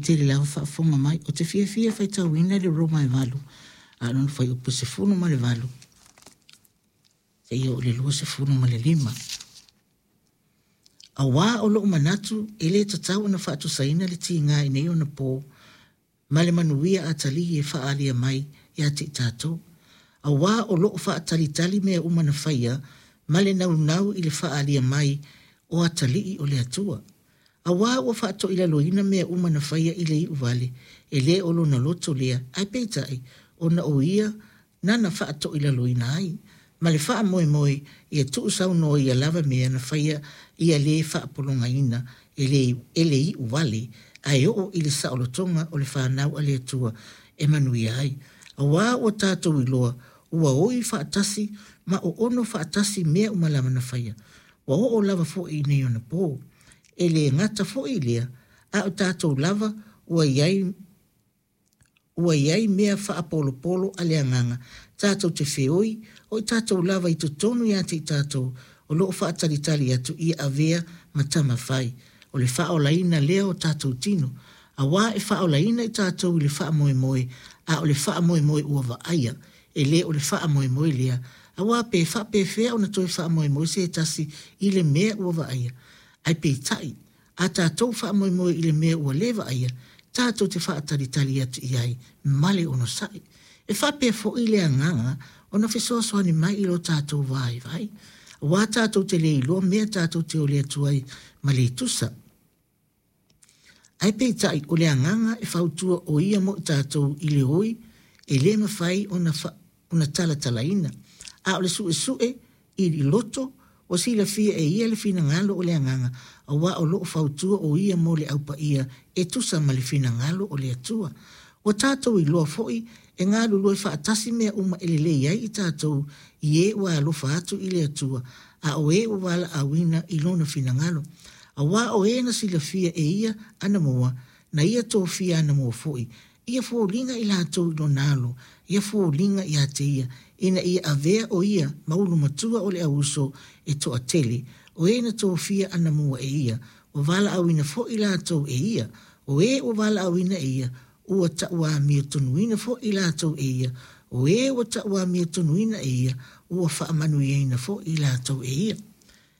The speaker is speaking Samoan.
tele lava faafofoga mai. Ou te fiafia e faitauina le Roma e 8, a o lona fuaiupu 18 seia oo i le 25. Auā o lo'u manatu e lē tatau ona faatusaina le tiga i nei ona pō ma le manuia atalii e faaalia mai ia te i tatou. Auā o lo o faatalitali mea uma na faia ma le naunau i le faaalia mai o atalii o le Atua. Auā ua faatoilaloina mea uma na faia i le iu vale, e le o lona loto lea, ae peitai, ona o ia nana faatoilaloina ai, ma le faamoemoe ia tuusaunoa ia lava mea na faia ia lē faapologaina e le, e le iu vale, ae oo i le saolotoga o le fanau a le Atua e manuia ai. Auā ua tatou iloa ua oi faatasi ma oono faatasi mea uma lava na faia. Ua oo lava foi i nei ona pō. E le gata foi i lea, a o tatou lava ua i ai ua i ai mea faapolopolo a le Agaga, tatou te feoi, o i tatou lava i totonu ia te i tatou, o lo o faatalitali atu ia avea ma tama fai, o le faaolaina lea o tatou tino. Auā e faaolaina i tatou i le faamoemoe, a o le faamoemoe ua vaaia, e le o le faamoemoe lea, auā pe faapefea ona toe faamoemoe se tasi i le mea ua vaaia? Ae peitai, a tatou faamoemoe i le mea ua le vaaia, tatou te faatalitali atu i ai ma le onosai. E faapea foi le Agaga ona fesoasoani mai i lo tatou vaivai, auā tatou te le iloa mea tatou te ole atu ai ma le tusa. Ae peitai o le Agaga e fautua o ia mo i tatou i le oi e le mafai ona, fa, ona talatalaina. A o le suesue i loto, ua silafia e ia le finagalo o le Agaga, auā o lo o fautua o ia mo le Au Paia e tusa ma le finagalo o le Atua. Ua tatou iloa foi e galulue faatasi mea uma e lelei ai i tatou i e ua alofa atu i le Atua, a o e ua valaauina i Lona finagalo. Auā o e na silafia e ia anamua, na ia tofia anamua foi, ia foliga i latou i lona alo, ia foliga ia te ia, ina ia avea o ia ma ulu matua o le auuso e toatele, o e na tofia anamua e ia, ua valaauina foi latou e ia, o e ua valaauina e ia, ua tauamiotonuina foi latou e ia, o e ua tauamiotonuina e ia, ua faamanuiaina foi latou e ia.